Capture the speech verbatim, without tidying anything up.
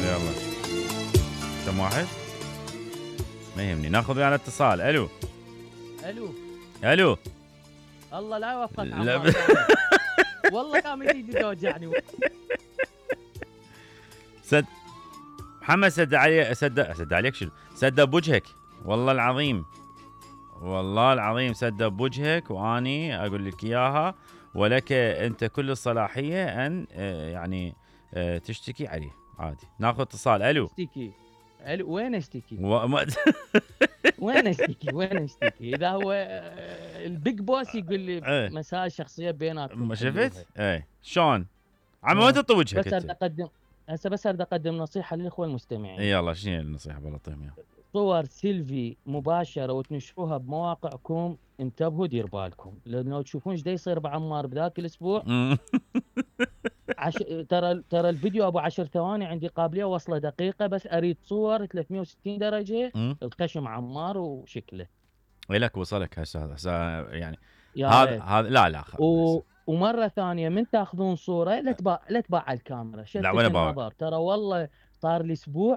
يلا كم واحد؟ ما يهمني، ناخذ ويانا اتصال. الو الو الو الله لا يوفقك لا عمار. ب... والله كان ايدي توجعني. سد محمد سد علي سد سد عليك شنو؟ سد بوجهك والله العظيم، والله العظيم سد بوجهك، واني اقول لك اياها، ولك انت كل الصلاحيه ان يعني تشتكي عليه عادي. ناخذ اتصال. الو اشتكي. الو وين اشتكي؟ وما... وين اشتكي؟ وين اشتكي؟ اذا هو البيج بوس يقول لي مسائل شخصيه بيناتكم. ما شفت؟ اي شلون؟ عم وين تطي وجهك؟ بس اريد اقدم هسه بس اريد اقدم نصيحه للاخوه المستمعين. يلا شنو النصيحه بالله طيب؟ صور سيلفي مباشره وتنشروها بمواقعكم انتبهوا دير بالكم، لانه تشوفون ايش يصير بعمار بذاك الاسبوع. عش... ترى ترى الفيديو ابو عشر ثواني عندي قابليه وصله دقيقه، بس اريد صور ثلاثمية وستين درجه الخشم عمار وشكله. لك وصلك هسه هسه يعني هذا هذا لا لا و... ومره ثانيه من تاخذون صوره لا تباع لا تباع على الكاميرا، شتت النظر. ترى والله صار لي اسبوع